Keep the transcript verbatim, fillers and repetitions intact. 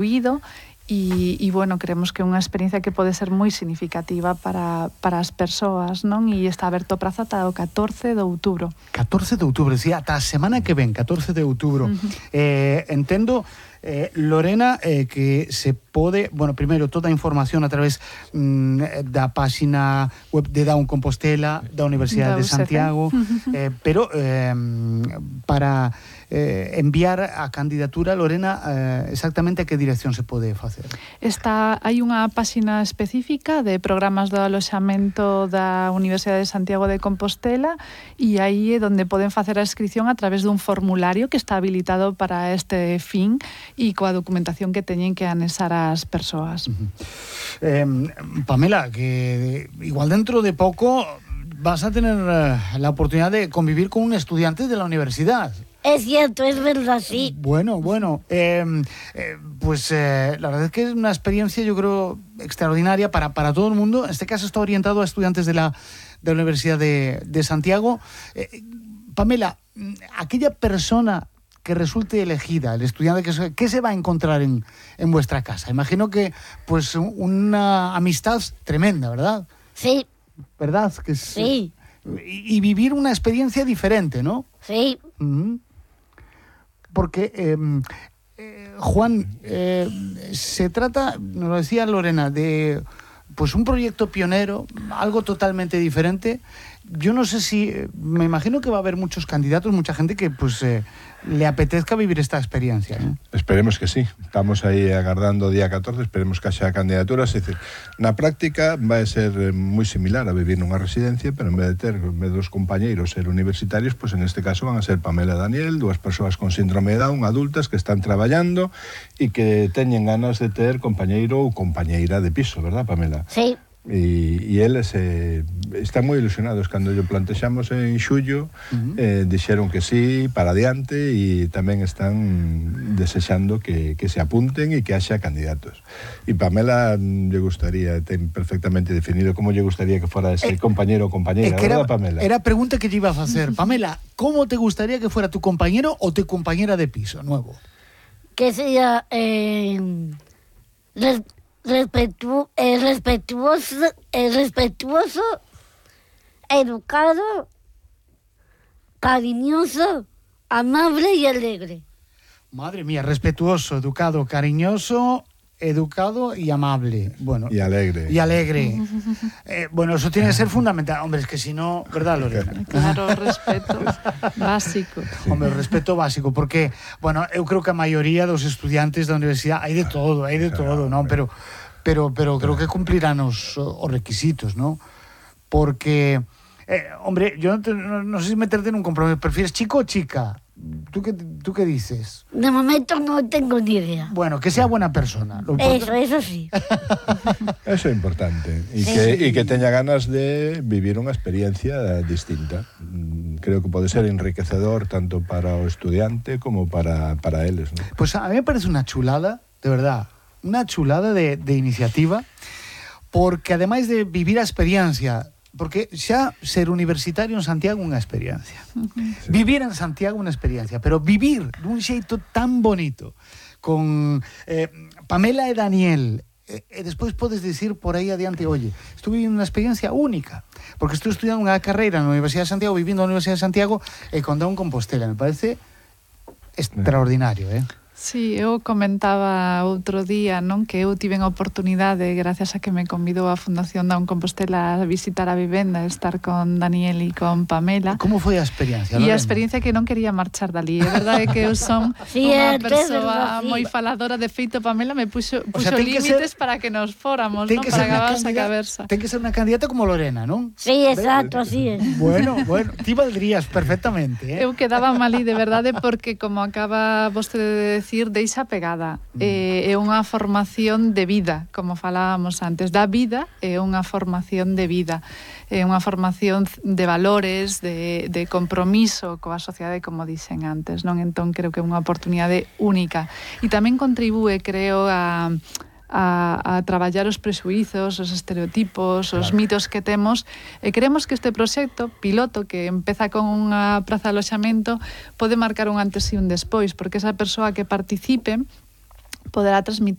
incluído. E, e, bueno, creemos que é unha experiencia que pode ser moi significativa para, para as persoas, non? E está aberto o prazo ata o catorce de outubro. catorce de outubro, sí, ata a semana que ven, catorce de outubro. Uh-huh. Eh, entendo, eh, Lorena, eh, que se pode, bueno, primeiro, toda a información a través mm, da páxina web de Down Compostela, da Universidade de Santiago, uh-huh. eh, pero eh, para eh, enviar a candidatura, Lorena, eh, exactamente a que dirección se pode facer? Está, hai unha páxina específica de programas do aloxamento da Universidade de Santiago de Compostela e aí é onde poden facer a inscripción a través dun formulario que está habilitado para este fin e coa documentación que teñen que anexar as persoas. Uh-huh. eh, Pamela, que igual dentro de pouco vas a tener uh, la oportunidad de convivir con un estudiante de la universidad. Es cierto, es verdad, sí. Bueno, bueno, eh, eh, pues eh, la verdad es que es una experiencia, yo creo, extraordinaria para, para todo el mundo. En este caso está orientado a estudiantes de la, de la Universidad de, de Santiago. Eh, Pamela, aquella persona que resulte elegida, el estudiante, que, ¿qué se va a encontrar en, en vuestra casa? Imagino que, pues, una amistad tremenda, ¿verdad? Sí. ¿Verdad? Que es, sí. Y, y vivir una experiencia diferente, ¿no? Sí. Uh-huh. Porque, eh, eh, Juan, eh, se trata, nos lo decía Lorena, de pues un proyecto pionero, algo totalmente diferente. Yo no sé si, me imagino que va a haber muchos candidatos, mucha gente que pues eh, le apetezca vivir esta experiencia, ¿no? Esperemos que sí. Estamos aí agardando o día catorce, esperemos que haxa candidaturas. É dicir, na práctica vai ser moi similar a vivir nunha residencia, pero en vez de ter en vez dos compañeiros ser universitarios, pues en este caso van a ser Pamela e Daniel, dúas persoas con síndrome de Down, adultas que están traballando e que teñen ganas de ter compañeiro ou compañeira de piso, verdad, Pamela? Sí. E, e eles eh, están moi ilusionados cando yo plantexamos en xullo, uh-huh. eh, dixeron que sí, para adiante, e tamén están desexando que, que se apunten e que haxa candidatos. E Pamela lle gustaría, ten perfectamente definido como lle gustaría que fora ese eh, compañero ou compañeira, eh, era, ¿verdad, Pamela? Era a pregunta que lle iba a facer. Pamela, ¿cómo te gustaría que fuera tu compañero o tu compañera de piso nuevo? Que sea eh, res, respetu, eh, respetuoso, eh, respetuoso, educado, cariñoso, amable y alegre. Madre mía, respetuoso, educado, cariñoso, educado y amable. Bueno, y alegre. Y alegre. eh, bueno, eso tiene que ser fundamental. Hombre, es que si no, ¿verdad, Lorena? Claro, respeto básico. Hombre, respeto básico, porque, bueno, eu creo que a maioría dos estudiantes da universidade hai de todo, hai de todo, non? Pero, pero, pero creo que cumprirán os, os requisitos, ¿no? Porque, eh, hombre, yo no, te, no, no sé si meterte en un compromiso. ¿Prefieres chico o chica? ¿Tú qué, ¿Tú qué dices? De momento no tengo ni idea. Bueno, que sea buena persona. Lo eso, eso sí. Eso é importante. E sí. que, e que teña ganas de vivir unha experiencia distinta. Creo que pode ser enriquecedor tanto para o estudiante como para, para eles, ¿no? Pues a mí me parece una chulada, de verdad, una chulada de, de iniciativa, porque ademais de vivir a experiencia, porque xa ser universitario en Santiago unha experiencia. Uh-huh. Sí. Vivir en Santiago unha experiencia, pero vivir dun xeito tan bonito con eh, Pamela e Daniel, e, e despois podes dicir por aí adiante, oye, estou vivindo unha experiencia única, porque estou estudiando unha carreira na Universidade de Santiago, vivindo na Universidade de Santiago e con Down Compostela. Me parece extraordinario, eh? Sí, eu comentaba outro día, non, que eu tiven a oportunidade, gracias a que me convidou a Fundación Down Compostela a visitar a vivenda, estar con Daniel e con Pamela. Como foi a experiencia? E a experiencia que non quería marchar dali. É verdade que eu son sí, unha é, persoa sí. moi faladora. De feito, Pamela me puxo, puxo o sea, límites ser, para que nos fóramos, non? Para acabar esa caversa. Ten que ser unha candidata como Lorena, non? Sí, exacto, así é. Bueno, bueno, ti valdrías perfectamente, eh? Eu quedaba malí, de verdade, porque, como acaba vostede de decir, deixa pegar. É eh, unha formación de vida, como falábamos antes, da vida é unha formación de vida, é unha formación de valores, de, de compromiso coa sociedade, como dixen antes, non? Entón creo que é unha oportunidade única e tamén contribúe, creo, a A, a traballar os prexuizos, os estereotipos, os claro. mitos que temos, e creemos que este proxecto piloto que empeza con unha praza de aloxamento pode marcar un antes e un despois, porque esa persoa que participe poderá transmitir